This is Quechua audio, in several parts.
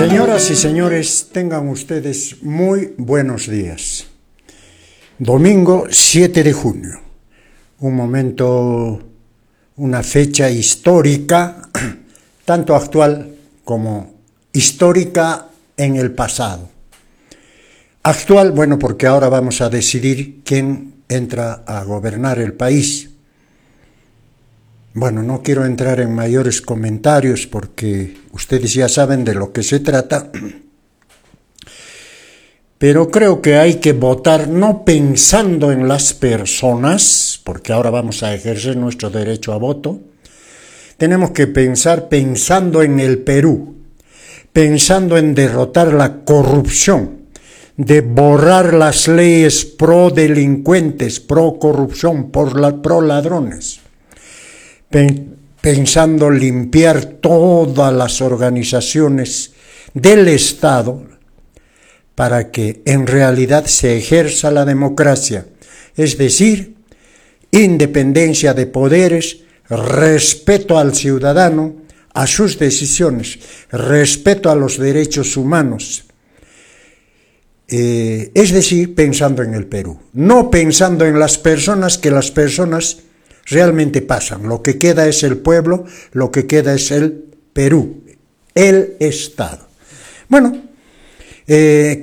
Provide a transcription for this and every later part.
Señoras y señores, tengan ustedes muy buenos días. Domingo 7 de junio, un momento, una fecha histórica, tanto actual como histórica en el pasado. Actual, bueno, porque ahora vamos a decidir quién entra a gobernar el país. Bueno, no quiero entrar en mayores comentarios porque ustedes ya saben de lo que se trata, pero creo que hay que votar no pensando en las personas, porque ahora vamos a ejercer nuestro derecho a voto. Tenemos que pensar pensando en el Perú, pensando en derrotar la corrupción, de borrar las leyes pro delincuentes, pro corrupción, pro ladrones, pensando limpiar todas las organizaciones del Estado para que en realidad se ejerza la democracia, es decir, independencia de poderes, respeto al ciudadano, a sus decisiones, respeto a los derechos humanos. Es decir, pensando en el Perú, no pensando en las personas, que las personas realmente pasan. Lo que queda es el pueblo, lo que queda es el Perú, el Estado. Bueno,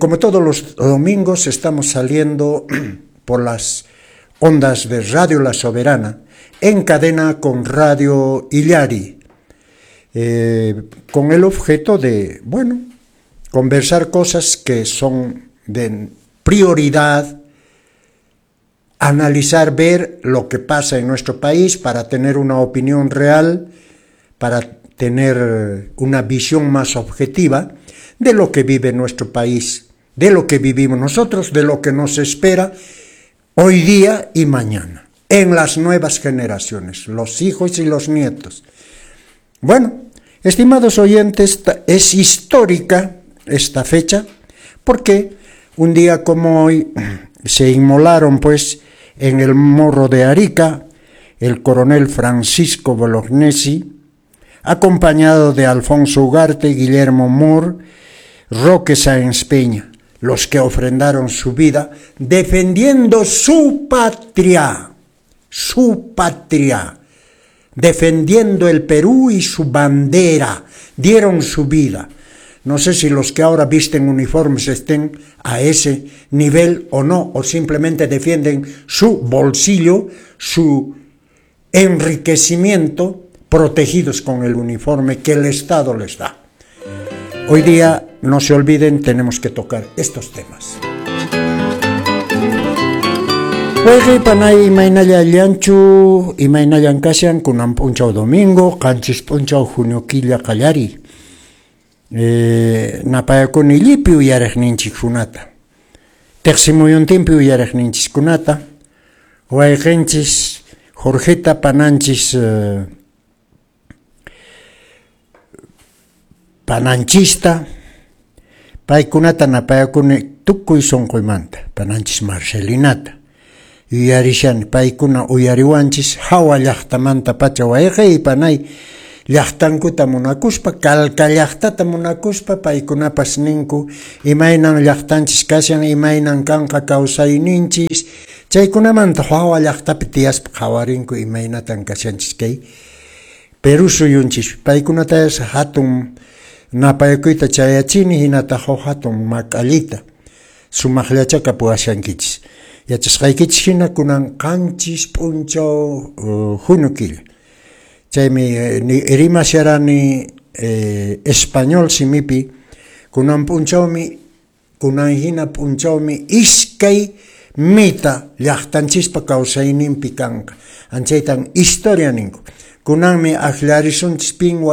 como todos los domingos estamos saliendo por las ondas de Radio La Soberana, en cadena con Radio Illari, con el objeto de, bueno, conversar cosas que son de prioridad, analizar, ver lo que pasa en nuestro país para tener una opinión real, para tener una visión más objetiva de lo que vive nuestro país, de lo que vivimos nosotros, de lo que nos espera hoy día y mañana, en las nuevas generaciones, los hijos y los nietos. Bueno, estimados oyentes, es histórica esta fecha porque un día como hoy se inmolaron, pues, en el Morro de Arica, el coronel Francisco Bolognesi, acompañado de Alfonso Ugarte, Guillermo Moore, Roque Sáenz Peña, los que ofrendaron su vida defendiendo su patria, defendiendo el Perú y su bandera, dieron su vida. No sé si los que ahora visten uniformes estén a ese nivel o no, o simplemente defienden su bolsillo, su enriquecimiento, protegidos con el uniforme que el Estado les da. Hoy día, no se olviden, tenemos que tocar estos temas. Wayqi panay, imaynalla allinchu, imaynallan kashan? Kunan p'unchaw domingo, 7 p'unchaw junio killa qallari. Napayakuni llipi uyariqninchikkunata, tiqsimuyuntinpi uyariqninchiskunata, wayqinchis Jorgeta, pananchis pananchista, paykunata napayakuni tukuy sunquymanta, pananchis Marcelinata. Yuyarishani paykuna uyariwanchis hawa llaqtamanta pacha, wayqiy panay, llaqtankuta munakuspa, Calca llaqtata munakuspa, paykunapas ninku imaynan llaqtanchis kashan, imaynan kanqa kawsayninchis, chaykunamanta hawa llaqtapi tiyaspa qhawarinku imaynatan kashanchis kay Perú suyunchis. Paykunata hatun napayakuyta chayachini, hinataq huk hatun mak'allita, sumaqllacha kapuwashankichis. Yachasqaykichis hina kunan 7 p'unchaw junio killa. Chaymi rimasharani español simipi, kunan p'unchawmi, kunan hina p'unchawmi iskay mita llaqtanchispa kawsayninpi kanqa. Anchaytan historia ninku. Kunanmi akllarisunchis pin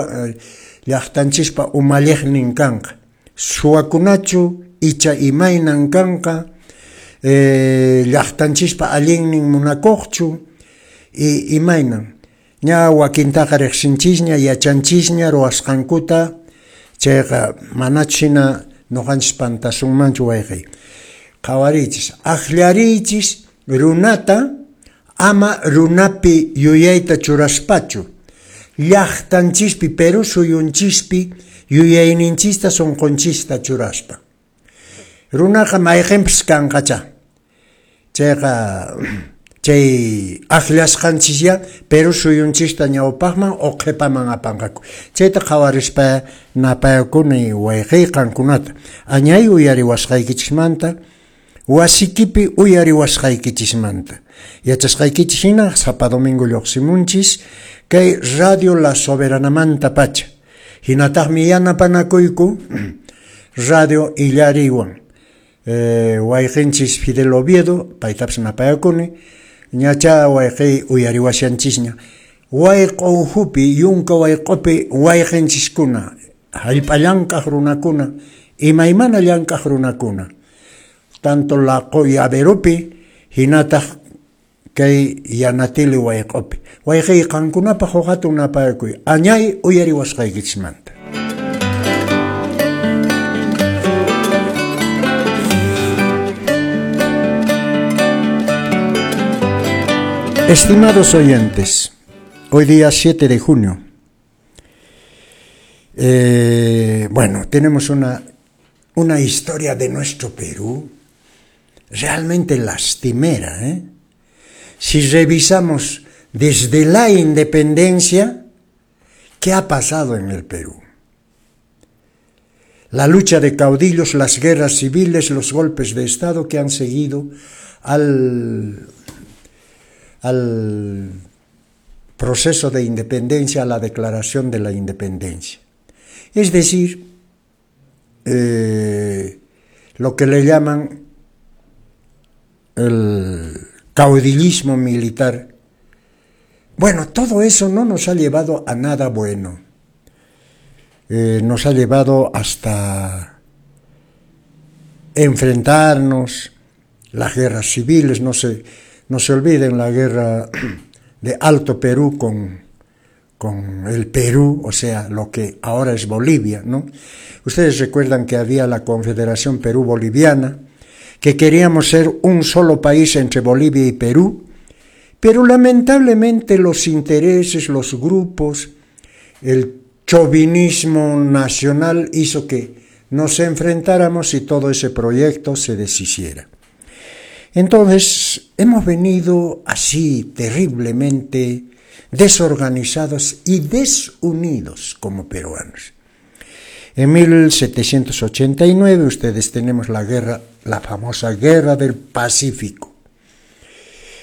llaqtanchispa umalliqnin kanqa. Suwakunachu icha imaynan kanqa, llaqtanchispa allinnin munakuqchu, imaynan. Ña wakintaqa riqsinchisña, yachanchisña ruwasqankuta, chayqa manachu hina ñuqanchis pantasunmanchu, wayqiy. Qhawariychis, akllariychis runata, ama runapi yuyayta churaspachu. Llaqtanchispi, Perú suyunchispi Yuyayninchista sunqunchista churaspa. Runaqa mayqinpis kanqachá. Chayqa chay akllasqanchisyá Perú suyunchista ñawpaqman o qhipaman apanqaku. Chayta qhawarispa napayakuni wayqiy qankunata. Añay uyariwasqaykichismanta, wasikipi uyariwasqaykichismanta. Yachasqaykichis hina sapa domingo lluqsimunchis kay Radio La Soberanamanta pacha. Hinataqmi yanapanakuyku Radio Illariwan. Wayqinchis Fidel Oviedo, paytapas napayakuni, ñacha wayqiy uyariwashanchisña. Wayq'o ukhupi, yunka wayq'opi wayqinchiskuna, hallp'a llank'aq runakuna, imaymana llank'aq runakuna, tanto Laqo Yaveropi, hinataq kay Yanatili wayq'opi. Wayqiy qankunapaq huk hatun napayakuy, añay uyariwasqaykichismanta. Estimados oyentes, hoy día 7 de junio, bueno, tenemos una historia de nuestro Perú realmente lastimera, ¿eh? Si revisamos desde la independencia, ¿qué ha pasado en el Perú? La lucha de caudillos, las guerras civiles, los golpes de Estado que han seguido al proceso de independencia, a la declaración de la independencia. Es decir, lo que le llaman el caudillismo militar. Bueno, todo eso no nos ha llevado a nada bueno. Nos ha llevado hasta enfrentarnos, las guerras civiles, no se olviden la guerra de Alto Perú con el Perú, o sea, lo que ahora es Bolivia, ¿no? Ustedes recuerdan que había la Confederación Perú-Boliviana, que queríamos ser un solo país entre Bolivia y Perú, pero lamentablemente los intereses, los grupos, el chauvinismo nacional hizo que nos enfrentáramos y todo ese proyecto se deshiciera. Entonces, hemos venido así terriblemente desorganizados y desunidos como peruanos. En 1789, ustedes tenemos la guerra, la famosa Guerra del Pacífico.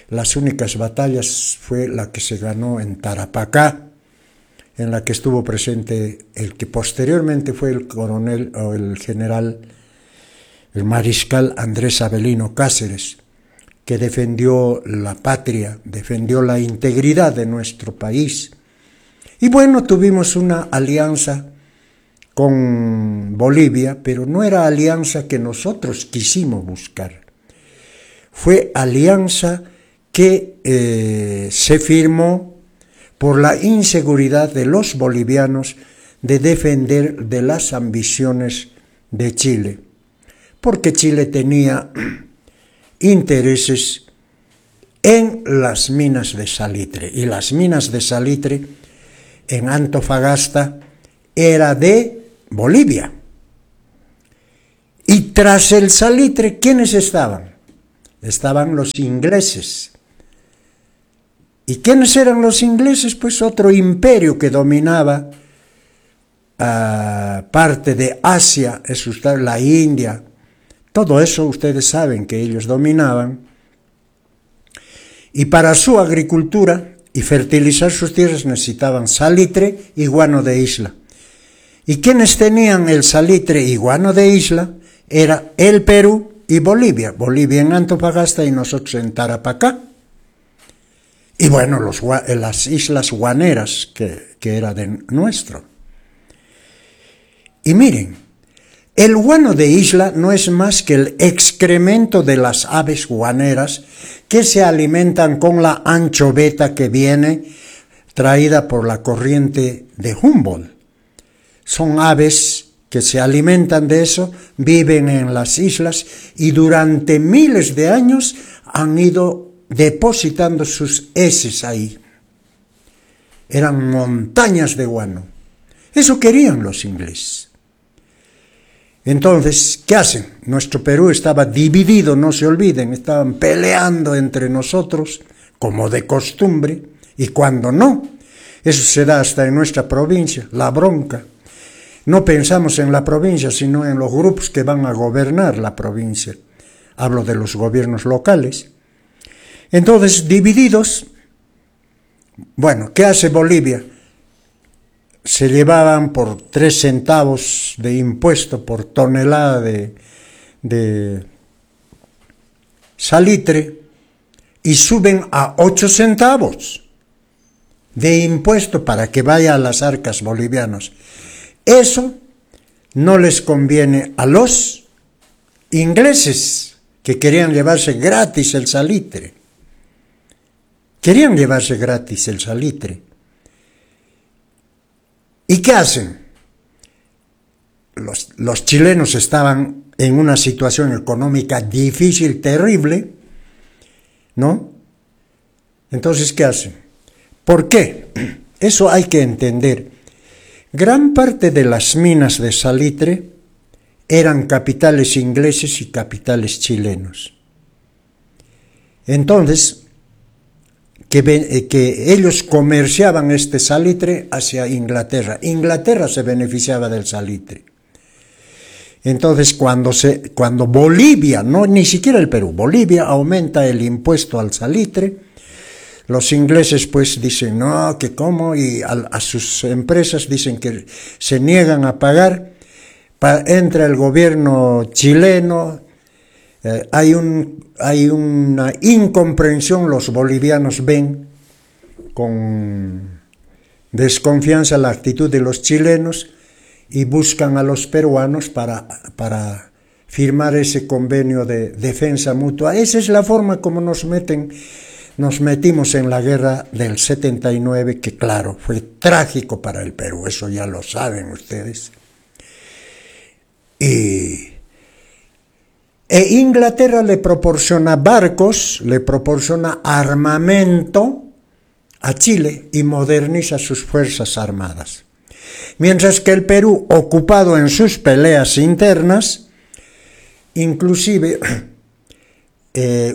Las únicas batallas fue la que se ganó en Tarapacá, en la que estuvo presente el que posteriormente fue el coronel o el general, el mariscal Andrés Avelino Cáceres, que defendió la patria, defendió la integridad de nuestro país. Y bueno, tuvimos una alianza con Bolivia, pero no era alianza que nosotros quisimos buscar. Fue alianza que se firmó por la inseguridad de los bolivianos de defender de las ambiciones de Chile, porque Chile tenía intereses en las minas de salitre, y las minas de salitre en Antofagasta era de Bolivia. Y tras el salitre, ¿quiénes estaban? Estaban los ingleses. ¿Y quiénes eran los ingleses? Pues otro imperio que dominaba parte de Asia, es usted, la India. Todo eso ustedes saben que ellos dominaban. Y para su agricultura y fertilizar sus tierras necesitaban salitre y guano de isla. ¿Y quienes tenían el salitre y guano de isla? Era el Perú y Bolivia. Bolivia en Antofagasta y nosotros en Tarapacá. Y bueno, las islas guaneras, que era de nuestro. Y miren, el guano de isla no es más que el excremento de las aves guaneras que se alimentan con la anchoveta que viene traída por la corriente de Humboldt. Son aves que se alimentan de eso, viven en las islas y durante miles de años han ido depositando sus heces ahí. Eran montañas de guano. Eso querían los ingleses. Entonces, ¿qué hacen? Nuestro Perú estaba dividido, no se olviden, estaban peleando entre nosotros, como de costumbre, y cuando no, eso se da hasta en nuestra provincia, la bronca. No pensamos en la provincia, sino en los grupos que van a gobernar la provincia. Hablo de los gobiernos locales. Entonces, divididos, bueno, ¿qué hace Bolivia? Se llevaban por 3 centavos de impuesto por tonelada de salitre y suben a 8 centavos de impuesto para que vaya a las arcas bolivianas. Eso no les conviene a los ingleses, que querían llevarse gratis el salitre. Querían llevarse gratis el salitre. ¿Y qué hacen? Los chilenos estaban en una situación económica difícil, terrible, ¿no? Entonces, ¿qué hacen? ¿Por qué? Eso hay que entender. Gran parte de las minas de salitre eran capitales ingleses y capitales chilenos. Entonces, que ellos comerciaban este salitre hacia Inglaterra. Inglaterra se beneficiaba del salitre. Entonces, cuando Bolivia, no ni siquiera el Perú, Bolivia aumenta el impuesto al salitre, los ingleses pues dicen, no, que cómo, y a sus empresas dicen que se niegan a pagar. Entra el gobierno chileno, hay una incomprensión, los bolivianos ven con desconfianza la actitud de los chilenos y buscan a los peruanos para firmar ese convenio de defensa mutua. Esa es la forma como nos metimos en la guerra del 79, que claro, fue trágico para el Perú, eso ya lo saben ustedes. E Inglaterra le proporciona barcos, le proporciona armamento a Chile y moderniza sus fuerzas armadas. Mientras que el Perú, ocupado en sus peleas internas, inclusive,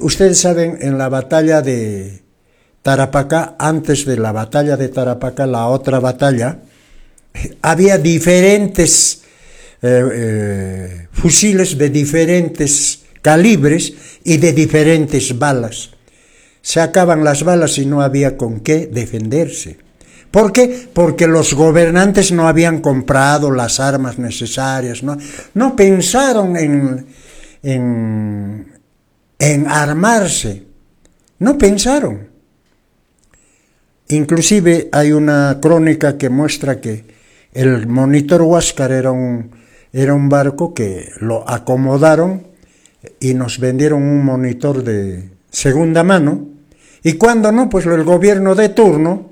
ustedes saben, en la batalla de Tarapacá, antes de la batalla de Tarapacá, la otra batalla, había diferentes fusiles de diferentes calibres y de diferentes balas. Se acaban las balas y no había con qué defenderse. ¿Por qué? Porque los gobernantes no habían comprado las armas necesarias, no pensaron en armarse, no pensaron. Inclusive hay una crónica que muestra que el Monitor Huáscar era un barco que lo acomodaron y nos vendieron un monitor de segunda mano, y cuando no, pues el gobierno de turno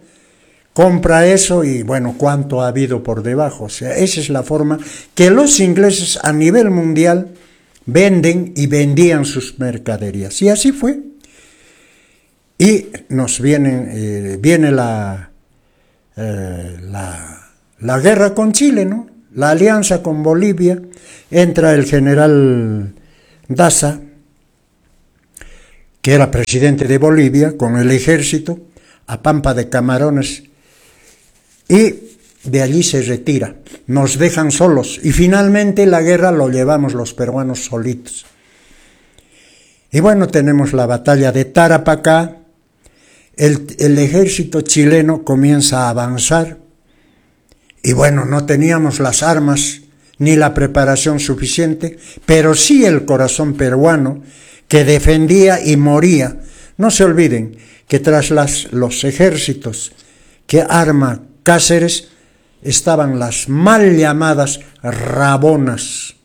compra eso y bueno, cuánto ha habido por debajo. O sea, esa es la forma que los ingleses a nivel mundial venden y vendían sus mercaderías. Y así fue. Y nos viene la guerra con Chile, ¿no? La alianza con Bolivia. Entra el general Daza, que era presidente de Bolivia, con el ejército a Pampa de Camarones, y de allí se retira. Nos dejan solos y finalmente la guerra lo llevamos los peruanos solitos. Y bueno, tenemos la batalla de Tarapacá. El ejército chileno comienza a avanzar y bueno, no teníamos las armas ni la preparación suficiente, pero sí el corazón peruano que defendía y moría. No se olviden que tras los ejércitos que arma Cáceres estaban las mal llamadas rabonas.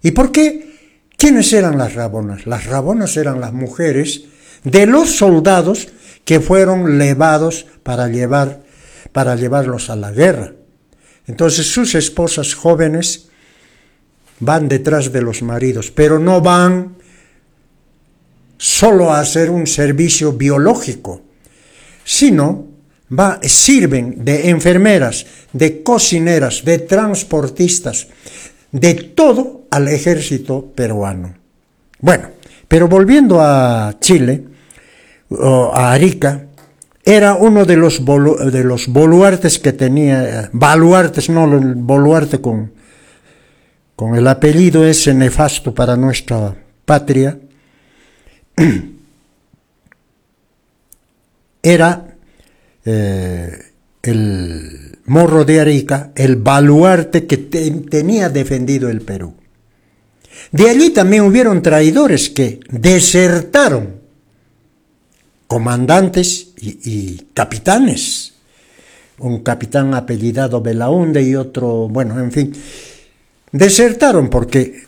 ¿Y por qué? ¿Quiénes eran las rabonas? Las rabonas eran las mujeres de los soldados que fueron levados para llevarlos a la guerra. Entonces sus esposas jóvenes van detrás de los maridos, pero no van solo a hacer un servicio biológico, sino Sirven de enfermeras, de cocineras, de transportistas, de todo al ejército peruano. Bueno, pero volviendo a Chile, o a Arica, era uno de los baluartes que tenía, baluartes, no el boluarte con el apellido ese nefasto para nuestra patria, era el Morro de Arica, el baluarte que tenía defendido el Perú. De allí también hubieron traidores que desertaron, comandantes y capitanes, un capitán apellidado Belaunde y otro, bueno, en fin, desertaron porque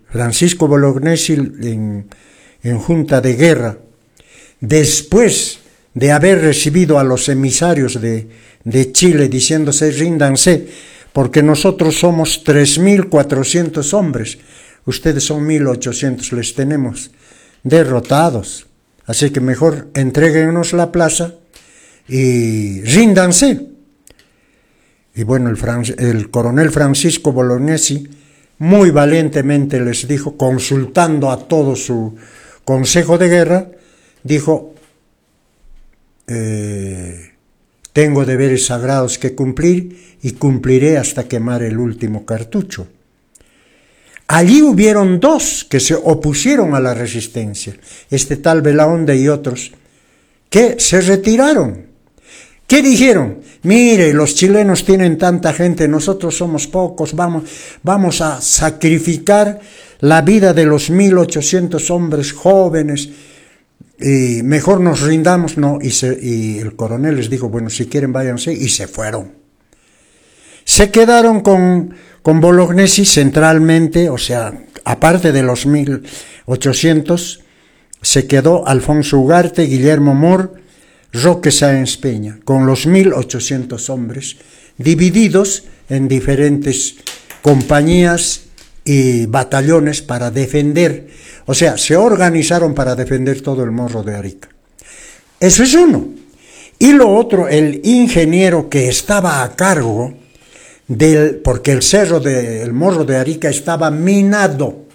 Francisco Bolognesi en junta de guerra, después de haber recibido a los emisarios de Chile diciéndose ríndanse, porque nosotros somos 3.400 hombres, ustedes son 1.800, les tenemos derrotados, así que mejor entréguenos la plaza y ríndanse. Y bueno, el coronel Francisco Bolognesi muy valientemente les dijo, consultando a todo su consejo de guerra, dijo, tengo deberes sagrados que cumplir y cumpliré hasta quemar el último cartucho. Allí hubieron dos que se opusieron a la resistencia, este tal Belaunde y otros, que se retiraron. ¿Qué dijeron? Mire, los chilenos tienen tanta gente, nosotros somos pocos, vamos a sacrificar la vida de los 1.800 hombres jóvenes y mejor nos rindamos. No, y el coronel les dijo, bueno, si quieren váyanse, y se fueron. Se quedaron con Bolognesi centralmente, o sea, aparte de los 1.800, se quedó Alfonso Ugarte, Guillermo Moore, Roque Sáenz Peña, con los 1.800 hombres, divididos en diferentes compañías y batallones para defender, o sea, se organizaron para defender todo el Morro de Arica. Eso es uno. Y lo otro, el ingeniero que estaba a cargo porque el cerro del Morro de Arica estaba minado,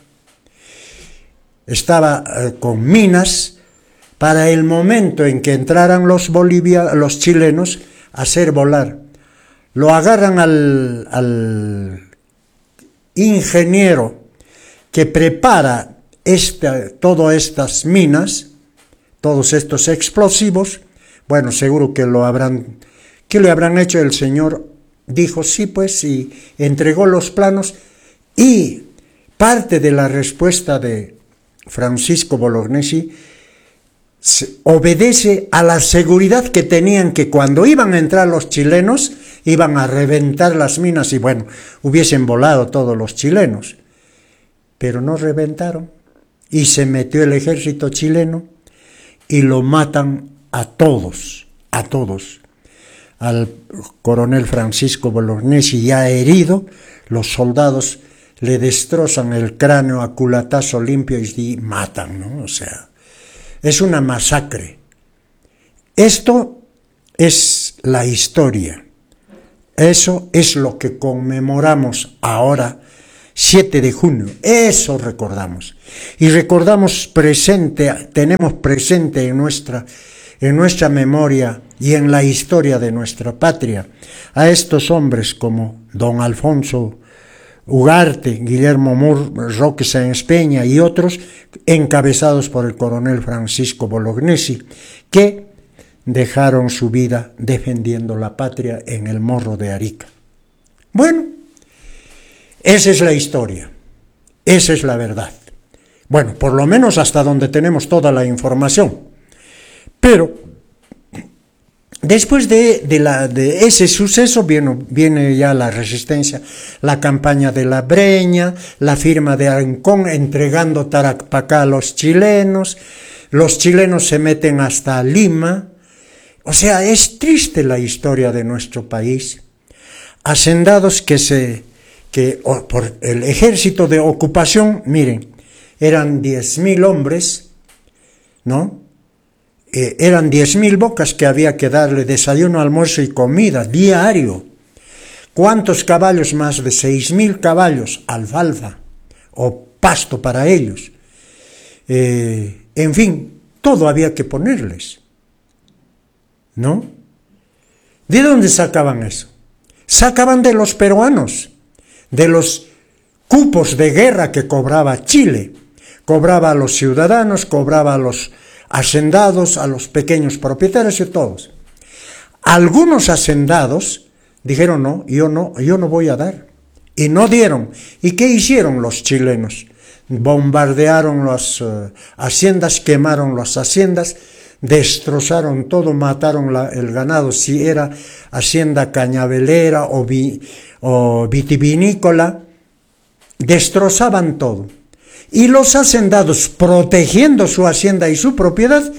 estaba con minas, para el momento en que entraran los chilenos a hacer volar. Lo agarran al ingeniero que prepara todas estas minas, todos estos explosivos. Bueno, seguro que le habrán hecho. El señor dijo sí, pues, y entregó los planos, y parte de la respuesta de Francisco Bolognesi obedece a la seguridad que tenían que cuando iban a entrar los chilenos iban a reventar las minas y bueno, hubiesen volado todos los chilenos, pero no reventaron y se metió el ejército chileno y lo matan a todos, a todos. Al coronel Francisco Bolognesi, ya herido, los soldados le destrozan el cráneo a culatazo limpio y matan, ¿no? O sea, es una masacre. Esto es la historia. Eso es lo que conmemoramos ahora, 7 de junio. Eso recordamos. Y recordamos presente, tenemos presente en nuestra memoria y en la historia de nuestra patria a estos hombres como don Alfonso Ugarte, Guillermo Moore, Roque Sáenz Peña y otros, encabezados por el coronel Francisco Bolognesi, que dejaron su vida defendiendo la patria en el Morro de Arica. Bueno, esa es la historia, esa es la verdad. Bueno, por lo menos hasta donde tenemos toda la información. Pero después de ese suceso viene ya la resistencia, la campaña de la Breña, la firma de Ancón entregando Tarapacá a los chilenos se meten hasta Lima. O sea, es triste la historia de nuestro país. Hacendados que por el ejército de ocupación, miren, eran 10.000 hombres, ¿no? Eran 10.000 bocas que había que darle desayuno, almuerzo y comida diario. ¿Cuántos caballos? Más de 6.000 caballos, alfalfa o pasto para ellos. En fin, todo había que ponerles, ¿no? ¿De dónde sacaban eso? Sacaban de los peruanos, de los cupos de guerra que cobraba Chile. Cobraba a los ciudadanos, cobraba a los hacendados, a los pequeños propietarios y todos. Algunos hacendados dijeron: no, yo no, yo no voy a dar. Y no dieron. ¿Y qué hicieron los chilenos? Bombardearon las haciendas, quemaron las haciendas, destrozaron todo, mataron el ganado, si era hacienda cañavelera o vitivinícola, destrozaban todo. Y los hacendados, protegiendo su hacienda y su propiedad,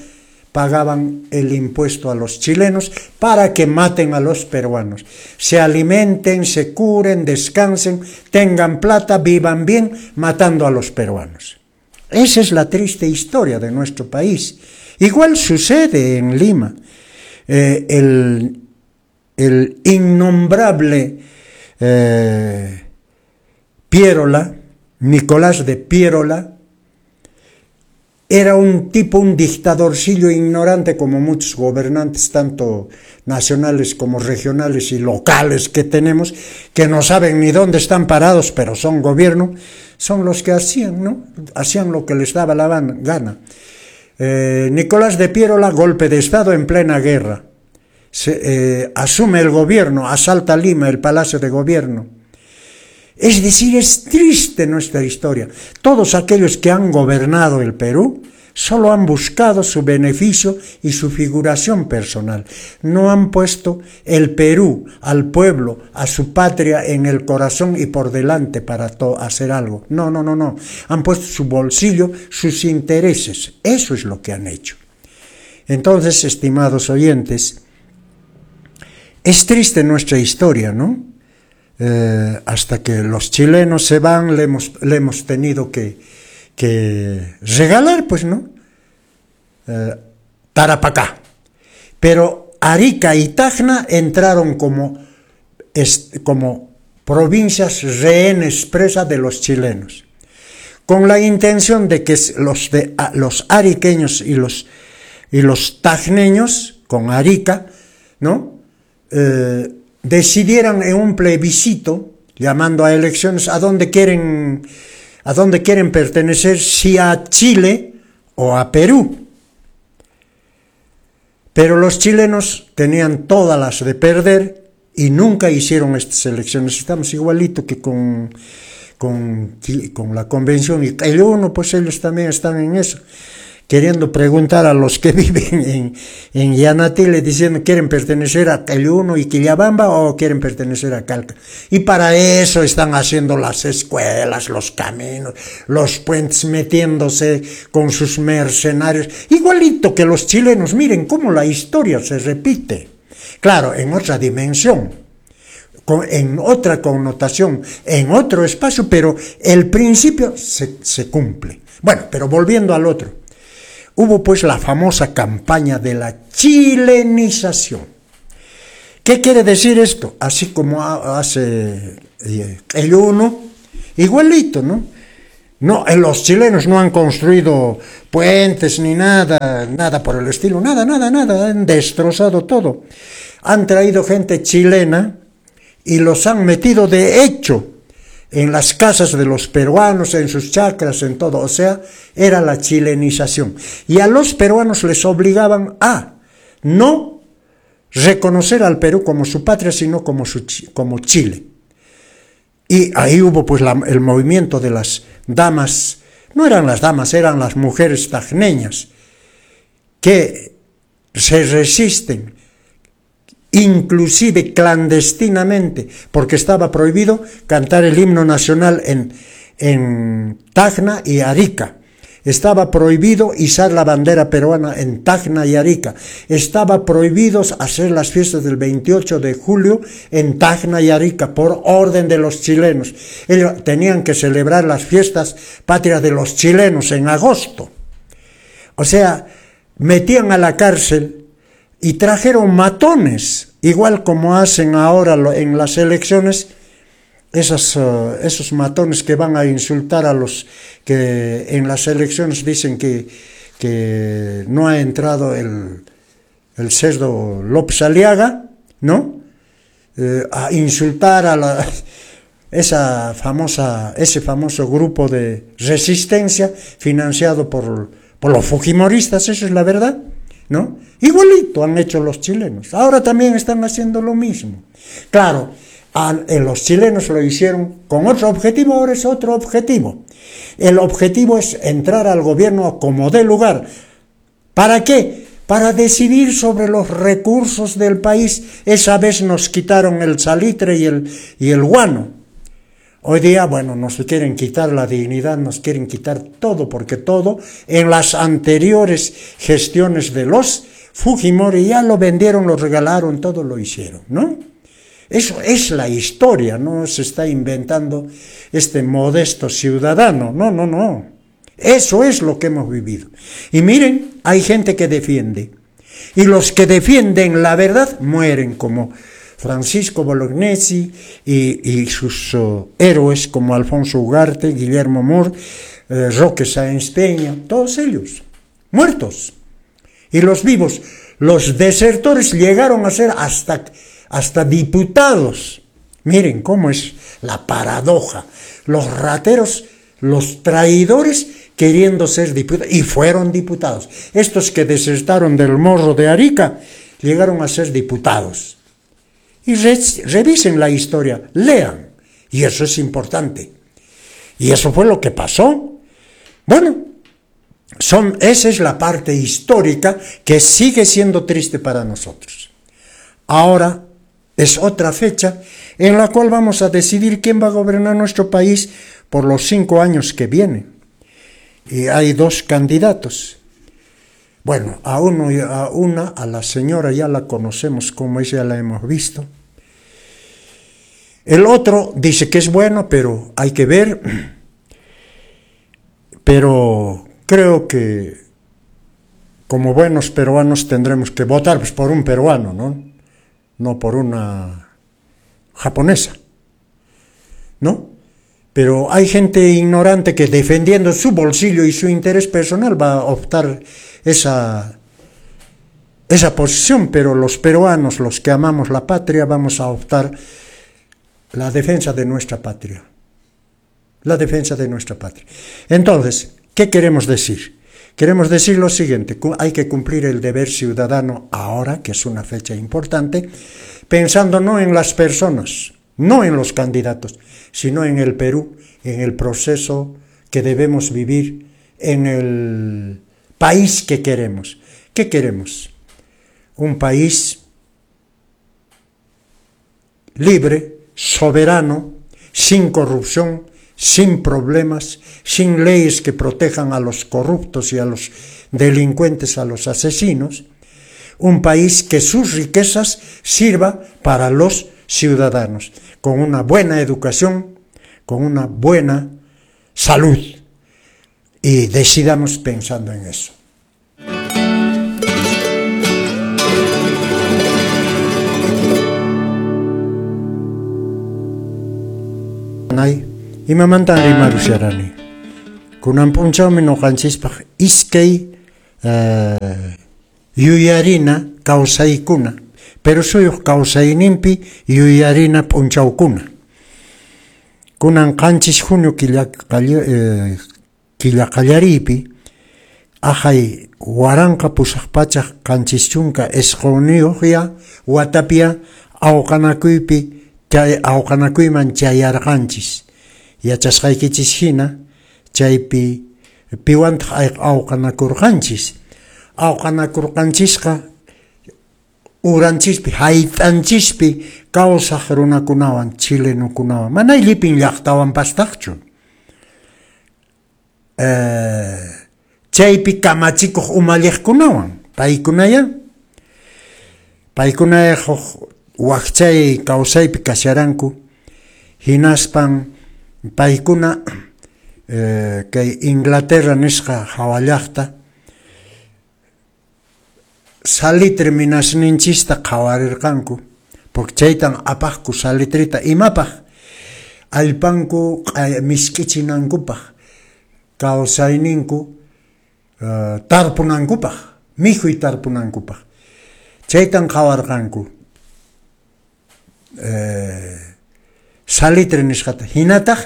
pagaban el impuesto a los chilenos para que maten a los peruanos. Se alimenten, se curen, descansen, tengan plata, vivan bien, matando a los peruanos. Esa es la triste historia de nuestro país. Igual sucede en Lima. El innombrable Piérola, Nicolás de Piérola, era un tipo, un dictadorcillo ignorante como muchos gobernantes, tanto nacionales como regionales y locales que tenemos, que no saben ni dónde están parados, pero son gobierno, son los que hacían, ¿no? Hacían lo que les daba la gana. Nicolás de Piérola, golpe de Estado en plena guerra. Se asume el gobierno, asalta Lima, el Palacio de Gobierno. Es decir, es triste nuestra historia. Todos aquellos que han gobernado el Perú solo han buscado su beneficio y su figuración personal. No han puesto el Perú, al pueblo, a su patria en el corazón y por delante para hacer algo. No, no, no, no. Han puesto su bolsillo, sus intereses. Eso es lo que han hecho. Entonces, estimados oyentes, es triste nuestra historia, ¿no? Hasta que los chilenos se van, le hemos tenido que regalar, pues, ¿no? Tarapacá. Pero Arica y Tacna entraron como provincias rehenes, presa de los chilenos, con la intención de que los ariqueños y los tacneños, con Arica, ¿no? Decidieran en un plebiscito, llamando a elecciones, a dónde quieren pertenecer, si a Chile o a Perú. Pero los chilenos tenían todas las de perder y nunca hicieron estas elecciones. Estamos igualito que con la convención y el uno, pues ellos también están en eso, queriendo preguntar a los que viven en Yanatile, diciendo: ¿quieren pertenecer a Uno y Quillabamba o quieren pertenecer a Calca? Y para eso están haciendo las escuelas, los caminos, los puentes, metiéndose con sus mercenarios, igualito que los chilenos. Miren cómo la historia se repite. Claro, en otra dimensión, en otra connotación, en otro espacio, pero el principio se cumple. Bueno, pero volviendo al otro. Hubo pues la famosa campaña de la chilenización. ¿Qué quiere decir esto? Así como hace el uno, igualito, ¿no? No, los chilenos no han construido puentes ni nada, nada por el estilo, nada, nada, nada, han destrozado todo. Han traído gente chilena y los han metido de hecho en las casas de los peruanos, en sus chacras, en todo. O sea, era la chilenización. Y a los peruanos les obligaban a no reconocer al Perú como su patria, sino como Chile. Y ahí hubo pues el movimiento de las damas, no eran las damas, eran las mujeres tacneñas, que se resisten inclusive clandestinamente, porque estaba prohibido cantar el himno nacional en Tacna y Arica. Estaba prohibido izar la bandera peruana en Tacna y Arica. Estaba prohibido hacer las fiestas del 28 de julio en Tacna y Arica por orden de los chilenos. Ellos tenían que celebrar las fiestas patrias de los chilenos en agosto. O sea, Metían a la cárcel y trajeron matones, igual como hacen ahora en las elecciones, esos matones que van a insultar a los que en las elecciones dicen que no ha entrado el cerdo López Aliaga, ¿no? A insultar a ese famoso grupo de resistencia financiado por los fujimoristas, eso es la verdad, ¿no? Igualito han hecho los chilenos. Ahora también están haciendo lo mismo. Claro, los chilenos lo hicieron con otro objetivo, ahora es otro objetivo. El objetivo es entrar al gobierno como dé lugar. ¿Para qué? Para decidir sobre los recursos del país. Esa vez nos quitaron el salitre y el guano. Hoy día, bueno, nos quieren quitar la dignidad, nos quieren quitar todo, porque todo en las anteriores gestiones de los Fujimori ya lo vendieron, lo regalaron, todo lo hicieron, ¿no? Eso es la historia, no se está inventando este modesto ciudadano, no, no, no. Eso es lo que hemos vivido. Y miren, hay gente que defiende. Y los que defienden la verdad mueren, como Francisco Bolognesi y sus héroes como Alfonso Ugarte, Guillermo Moore, Roque Sáenz Peña, todos ellos, muertos. Y los vivos, los desertores llegaron a ser hasta diputados. Miren cómo es la paradoja. Los rateros, los traidores queriendo ser diputados, y fueron diputados. Estos que desertaron del Morro de Arica llegaron a ser diputados. Y revisen la historia, lean. Y eso es importante. Y eso fue lo que pasó. Bueno, esa es la parte histórica que sigue siendo triste para nosotros. Ahora es otra fecha en la cual vamos a decidir quién va a gobernar nuestro país por los 5 años que vienen. Y hay 2 candidatos. Bueno, a uno y a una, a la señora ya la conocemos como es, ya la hemos visto. El otro dice que es bueno, pero hay que ver. Pero creo que como buenos peruanos tendremos que votar, pues, por un peruano, ¿no? No por una japonesa, ¿no? Pero hay gente ignorante que defendiendo su bolsillo y su interés personal va a optar esa posición, pero los peruanos, los que amamos la patria, vamos a optar la defensa de nuestra patria. La defensa de nuestra patria. Entonces, ¿qué queremos decir? Queremos decir lo siguiente: hay que cumplir el deber ciudadano ahora, que es una fecha importante, pensando no en las personas, no en los candidatos, sino en el Perú, en el proceso que debemos vivir, en el país que queremos. ¿Qué queremos? Un país libre, soberano, sin corrupción, sin problemas, sin leyes que protejan a los corruptos y a los delincuentes, a los asesinos. Un país que sus riquezas sirva para los ciudadanos, con una buena educación, con una buena salud. Y decidamos pensando en eso. Imamantan rimarusharani. Kunan p'unchawmi ñuqanchispaq iskay yuyarina kawsaykuna, pero suyuq kawsayninpi yuyarina p'unchawkuna. Kunan 7 junio killa qallariypi aqhay 1879 watapia awqanakuypi awqanakuyman chayarqanchis. Yachasqaykichis hina chaypi piwantaq awqanakurqanchis. Awqanakurqanchisqa uranchispi hayt'anchispi kawsaq runakunawan, chilenukunawan, mana llipin llaqtawan pastaqchu. Chaypi kamachikuq umalliqkunawan, paykunaya huk wakchay kawsaypi kasharanku, hinaspan paykuna kay Inglaterra nisqa hawa llaqta Salitre minasninchista qhawarirqanku, porque chaytan apaqku salitreta imapaq? Allpanku misk'ichinankupaq, kawsayninku tarpunankupaq, mikhuy tarpunankupaq. Chaytan qhawarqanku salitre nisqata, hinataq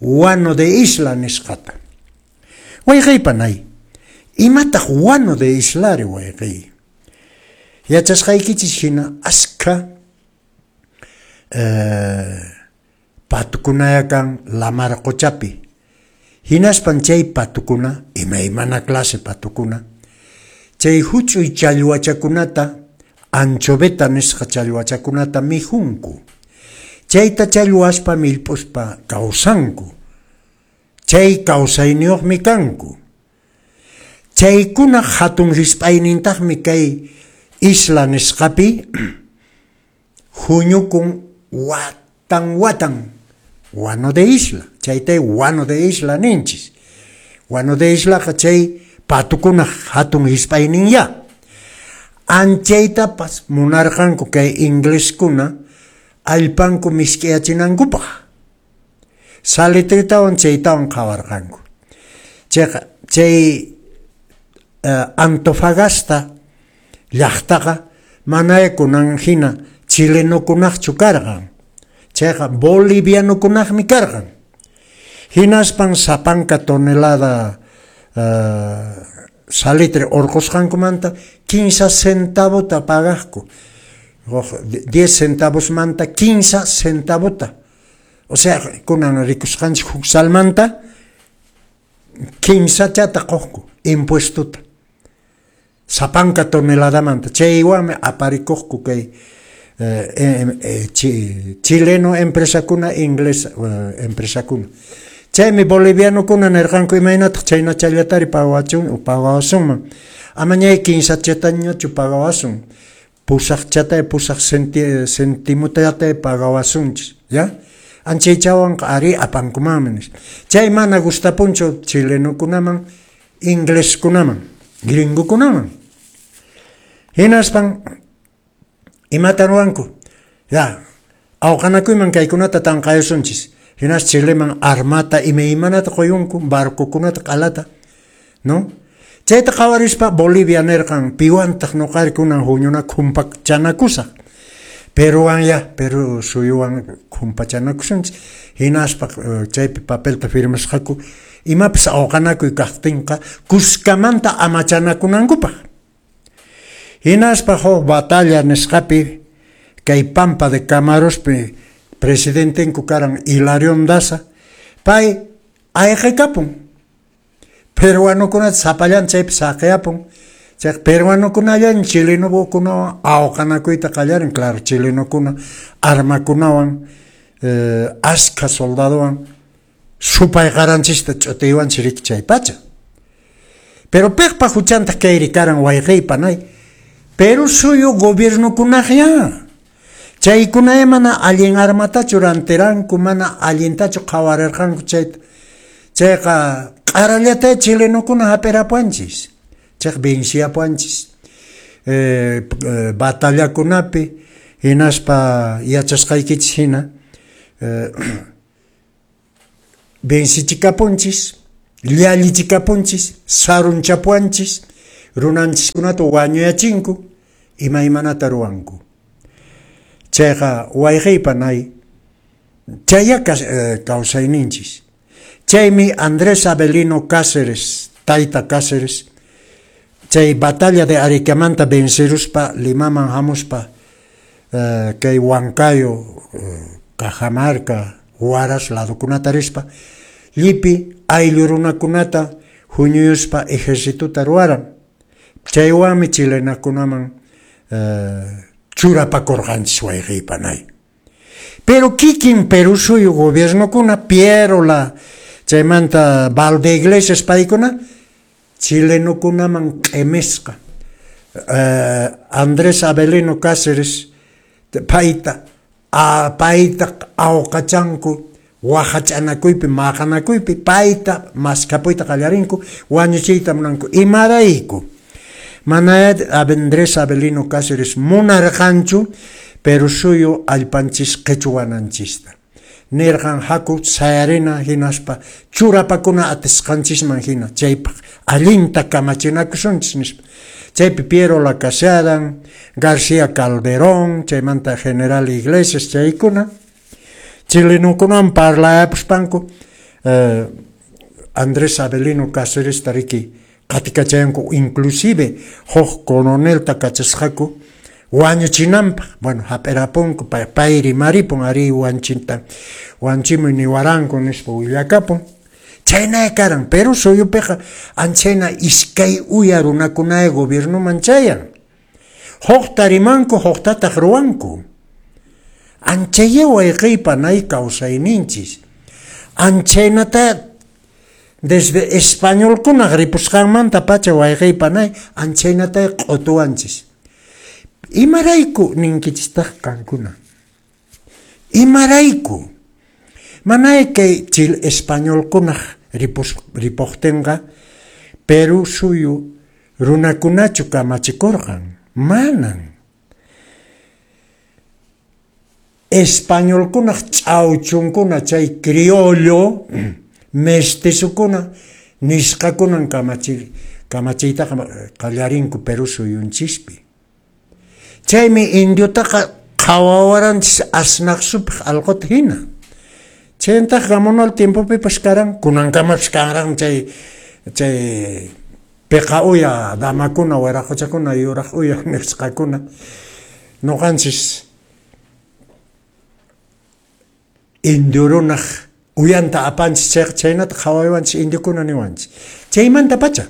guano de isla nisqata. Wayqey panay, imataq guano de islari, wayqey? Yachasqaykichis hina askha patukunaya kan lamar qochapi. Hinaspan chay patukuna, imaymana clase patukuna, chay huch'uy challwachakunata, anchoveta nisqa challwachakunata mikhunku. Chayta challwaspa millp'uspa kawsanku. Chay kawsayniyuqmi kanku. Chaykuna hatun risp'aynintaqmi kay isla nisqapi huñukun watan watan. Guano de isla, chaytay guano de isla ninchis. Guano de islaqa chay patukunaq hatun hisp'ayninya. Anchaytapas munarqanku kay ingleskuna allpanku misk'iyachinankupaq. Salitretawan chaytawan qhawarqanku. Chayqa chay Antofagasta llaqtaqa manaya kunan hina chilenokunaqchu karqan. Chayqa bolivianokunaqmi karqan. Hinaspan sapanka tonelada salitre urqusqankumanta 15 centavota pagaqku. 10 centavosmanta 15 centavota. O sea, kunan rikusqanchik huk salmanta 15chata quqku impuestota. Sapanka toneladamanta. Chaywanmi aparikuqku kay chileno empresakuna, inglés empresakuna. Chaymi bolivianokuna nirqanku imaynataq chaynachallatari pagawasunman. Amañay 15chatañachu pagawasun. Pusaqchatay pusaq centimotayatay pagawasunchis, ya? Anchaychawanqa ari apankumanmi nispa. Chay mana gustapunchu chilenokunaman, ingleskunaman, gringokunaman. Hinaspan imatan ruwanku? Ya, awqanakuyman kaykunata tanqayusunchis. Hinas Chileman armata imaymanata quyunku, barcokunata q'alata, no? Chayta qhawarispa Bolivia nirqan piwantaq nuqari kunan huñuna khumpachanakusaq. Peruwan ya, Perú suyuwan khumpachanakusunchis. Hinaspa chaypi papelta firmasqaku imapas awqanakuy kaqtinqa kuskamanta amachanakunankupaq. Hinaspa huk batalla nisqapi kay Pampa de Camarospi presidentenku karan Hilarión Daza, pay ayqikapun. Peruanokunata sapallan chaypi saqiyapun. Chayqa peruanokunallan chilenokunawan awqanakuyta qallarin, claro, chilenokuna armakunawan, askha soldadowan supay qaranchista ch'utiywanchis riki chay pacha. Pero piqpa huchantaq kayri karan wayqey panay? Perú suyu gobiernokunaqya. Chaykunaya mana allin armatachu rantiranku, mana allintachu qhawarirqanku chayta. Chayqa q'arallata chilenokuna hap'irapuanchis. Chayqa venciapuanchis. Batallakunapi hinaspa yachasqaykichis hina vencichikapunchis, llallichikapunchis, sarunchapuanchis, runanchiskunata wañuyachinku, imaymanata ruwanku. Chayqa wayqey panay, chaya kawsayninchis. Chaymi Andrés Avelino Cáceres, tayta Cáceres, chay batalla de Ariquemanta venceruspa Limaman hamuspa kay Huancayo, Cajamarca, Huaraz ladokunata rispa, llipi ayllu runakunata huñuyuspa ejercitota ruwaran. Chaywanmi chilenakunaman churapakurqanchis wayqey panay. Pero kikin Perú suyu gobiernokuna, Pierola, chaymanta Valdeiglesias paykuna, chilenokunaman q'imisqa. Andrés Avelino Cáceres payta awqachanku waqach'anakuypi, maqanakuypi, payta maskhapuyta qallarinku, wañuchiyta munanku. Imarayku? Mana Andrés Avelino Cáceres munarqanchu Perú suyu allpanchis qichwananchista. Nirqan haku sayarina hinaspa churapakuna atisqanchisman hina chaypaq allinta kamachinakusunchis nispa. Chaypi Piero Lacasadan, García Calderón, chaymanta General Iglesias chaykuna chilenokunawan parlayapuspanku Andrés Avelino Cáceresta riki qatikachayanku, inclusive huk coronelta kachasqaku wañuchinanpaq. Bueno, hap'irapunku, pay rimaripun, arí wanchinta wanchimuy niwaranku nispa willakapun. Chhaynaya karan, Perú suyupiqa anchayna iskay uya runakunaya gobiernoman chayan. Hukta rimanku, huktataq ruwanku. Anchaya wayqey panay kawsayninchis. Anchaynata desde españolkunaq ripusqanmanta pacha wayqey panay anchaynata q'utuwanchis. Imarayku ninkichistaq qankuna? Imarayku? Manay kay chil españolkunaq ripuqtinqa Perú suyu runakunachu kamachikurqan? Manan. Españolkunaq ch'awchunkuna chay criollo mestizokuna nisqakunan kamachiytaqa qallarinku Perú suyunchispi. Chaymi indiotaqa qhawawaranchis asnaq supaq alquta hina. Chayntaq Gamonal tiempopipas karan, kunankamapas kanran chay piqa uya damakuna, wiraquchakuna, yuraq uya nisqakuna. Nuqanchis indio runaq uyanta apanchis chayqa chaynata qhawaywanchis indiokuna niwanchis. Chaymanta pacha.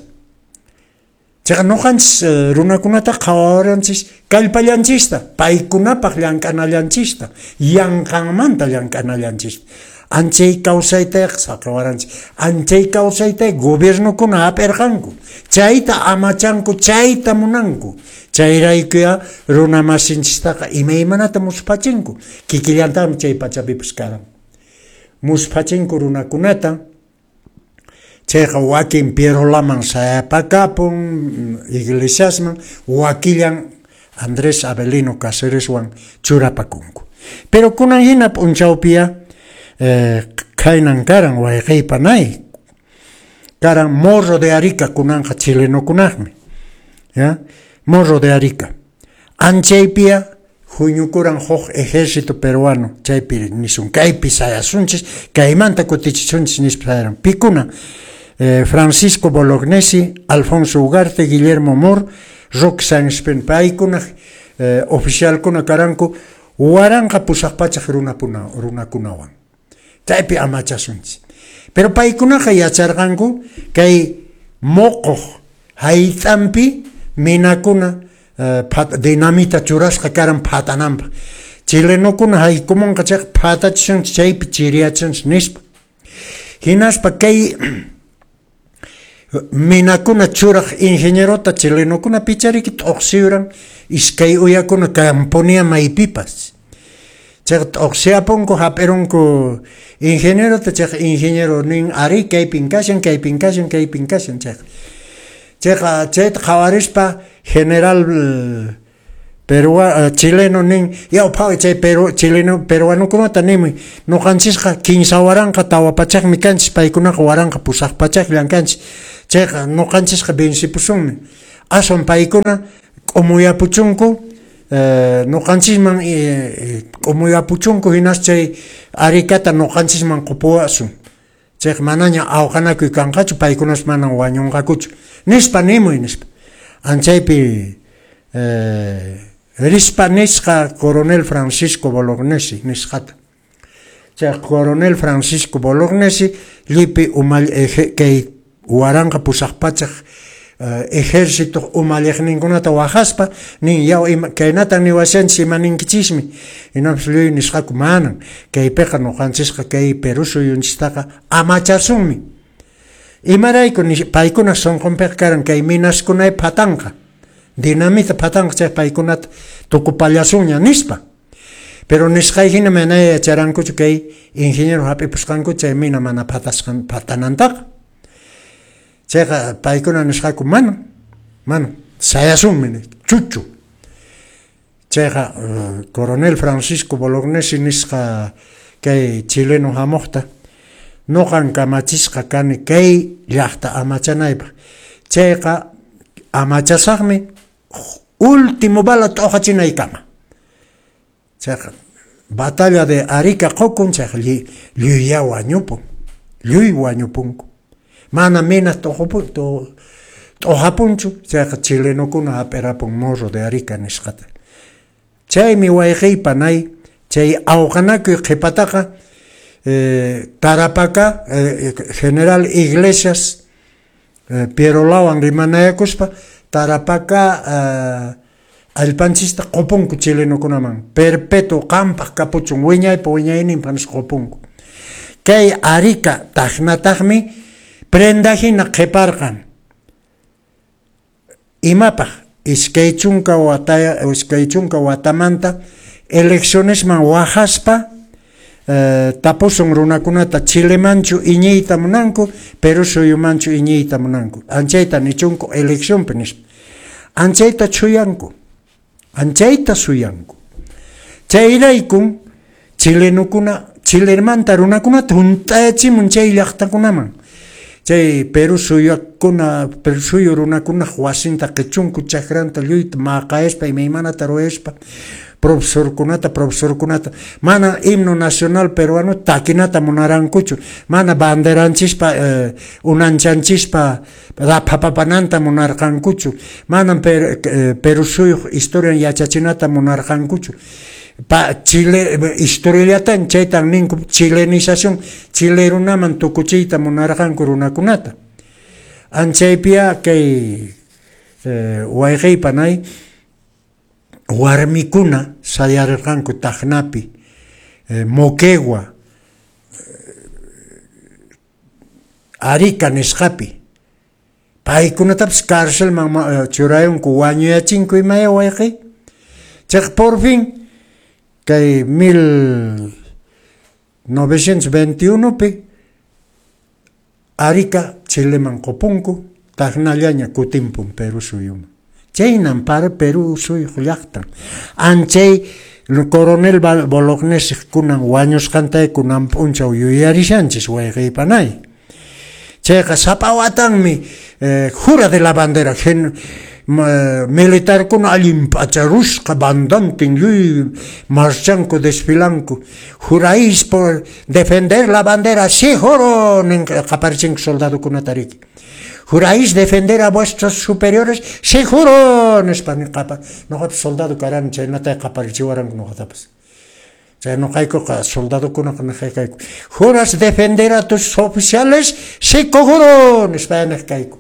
Chayqa nuqanchis runakunata qhawawaranchis kallpallanchista, paykunapaq llank'anallanchista, yanqanmanta llank'anallanchista. Anchay kawsaytaqa saqawaranchis. Anchay kawsayta gobiernokuna hap'irqanku. Chayta amachanku, chayta munanku. Chayraykuya runa masinchistaqa imaymanata musphachinku. Kikillantaqmi chay pachapipas karan. Musphachinku runakunata. Chayqa wakin Pierolaman sayapakapun, iglesiasman, wakillan Andrés Avelino Cácereswan churapakunku. Pero kunan hina p'unchawpiya khaynan karan wayqey panay. Karan Morro de Arica kunanqa chilenokunaqmi. ¿Ya? Morro de Arica. Anchaypiya huñukuran huk ejército peruano, chaypi nisun kaypi sayasunchis, kaymanta kutichisunchis nispa sayaran. Pikuna Francisco Bolognesi, Alfonso Ugarte, Guillermo Moore, Roque Sáenz Peña, paykunaq oficialkuna karanku 1800 runakunawan. Chaypi amachasunchis. Pero paykunaqa yacharqanku kay moqoq hayt'anpi minakuna dinamita churasqa karan phatananpaq. Chilenokuna haykumunqa chayqa phatachisunchis chaypi chiriyachisunchis nispa. Hinaspa kay minakuna churaq ingenierota chilenokuna pichariki t'uqsiyuran iskay uyakuna kampunia maypipas. Chayqa t'uqsiyapunku hap'irunku ingenierota, chayqa ingeniero nin arí kaypin kashan, kaypin kashan, kaypin kashan chayqa. Chayqa chayta qhawarispa general chileno nin yaw phaway chay chileno peruanokunata nimuy nuqanchisqa 3400mi kanchis, paykunaqa 1800llan kanchis. Chayqa nuqanchisqa vencipusunmi. Aswan paykuna k'umuyapuchunku nuqanchisman k'umuyapuchunku hinas chay Aricata nuqanchisman qupuwasun. Chayqa manaña awqanakuy kanqachu, paykunas manan wañunqakuchu nispa nimuy nispa. Anchaypi rispa nisqa coronel Francisco Bolognesi nisqata. Chay coronel Francisco Bolognesi llipi kay 1800 ejército umalliqninkunata waqaspa nin yaw kaynatan niwashanchis ima ninkichismi. Hinapis lluy nisqaku manan kaypiqa nuqanchisqa kay Perú suyunchistaqa amachasunmi. Imarayku paykuna sunqunpiqa karan kay minaskunay phatanqa, dinamita phatanqa chay paykunata tukupallasunña nispa. Pero nisqay hina mana yacharankuchu kay ingeniero hap'ipusqanku chay mina mana phatanantaqa. Chayqa paykuna nisqaku mana, mana. Sayasunmi, chuchu. Chayqa coronel Francisco Bolognesi nisqa kay chileno hamuqta, nuqan kamachisqa kani kay llaqta amachanaypaq. Chayqa amachasaqmi último bala t'uqachinaykama. Chayqa batalla de Arica qukun, chayqa lluyya wañupun, lluy wañupunku. Mana minas t'uqapunchu, chayqa chilenokuna hap'irapun Morro de Arica nisqata. Chaymi wayqiy panay, chay awqanakuy qhipataqa Tarapacá general Iglesias Pierolawan rimanayakuspa Tarapacá allpanchista qupunku chilenokunaman, perpetuo qampaq kapuchun wiñaypa wiñayninpaq nispa qupunku. Kay Arica taqnataqmi prenda hina qhiparqan. Imapaq? 20 watamanta eleccionesman waqaspa tapusun runakunata Chilemanchu iñiyta munanku, Perú suyumanchu iñiyta munanku. Anchayta nichunku eleccionpi nispa. Anchayta chuyanku. Anchayta suyanku. Chayraykun chilenokuna, Chilemanta runakunata hunt'achimun chay llaqtakunaman. Chay Perú suyakuna, Perú suyu runakunaq wasinta qichunku, chakranta lluyta maqayaspa, imaymanata ruwaspa, profesorkunata, mana himno nacional peruano takinata munarankuchu, mana banderanchispa, unanchanchispa raphapapananta munarqankuchu, mana Perú suyuq historian yachachinata munarqankuchu. Chile historiallatan chaytan ninku chilenización, Chile runaman tukuchiyta munarqanku runakunata. Anchaypiya kay wayqiy panay warmikuna sayarirqanku Tacnapi, Moquegua, Arica nisqapi. Paykunatapas carcelman churayunku, wañuyachinku imaya wayqiy. Chayqa por fin kay 1921pi Arica Chileman qupunku, Tacnallaña kutimpun Perú suyuman. Chaynan para Perú suyuq llaqtan. Anchay coronel Bolognesi kunan wañusqantay kunan p'unchaw yuyarishanchis wayqiy panay. Chayqa sapa watanmi jura de la bandera militarkuna allin p'acharusqa bandantin lluy marchanku desfilanku. Juráis por defender la bandera, sí juro, nin qaparichinku soldadokunata riki. Juráis defender a vuestros superiores, sí juro, nispa qapa. Noqapas soldado karani chaynata qaparichiwaranku noqatapas. Chay noqaykuqa soldadokunaqa niqayku. Juras defender a tus oficiales, sí juro, nispa niq kayku.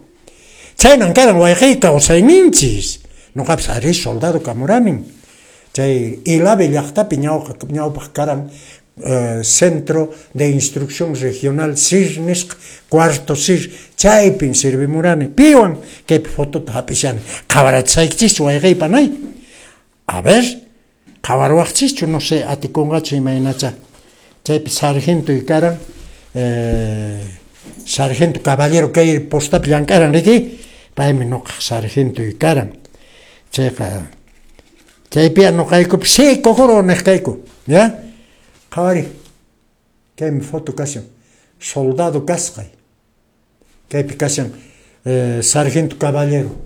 Chaynan karan wayqiy kawsayninchis. Noqapas ari soldado kamuranin. Chay Ilave llaqtapi ñawpaq karan Centro de Instrucción Regional CIR nisqa, cuarto CIR, chaypin servimurani. Piwan kaypi fotota hap'ishani. Qhawarachisaykichis wayqiy panay. A ver, qhawarwaqchischu, no sé, atikunqachu imaynacha. Chaypi sargento karan, sargento caballero kay postapi llank'aran riki, paymi nuqaq sargento karan. Chayqa chaypiya nuqaykupi sí juro niq kayku, ya? Qhawari, kaymi foto kashan, soldado kasqay. Kaypi kashan sargento caballero.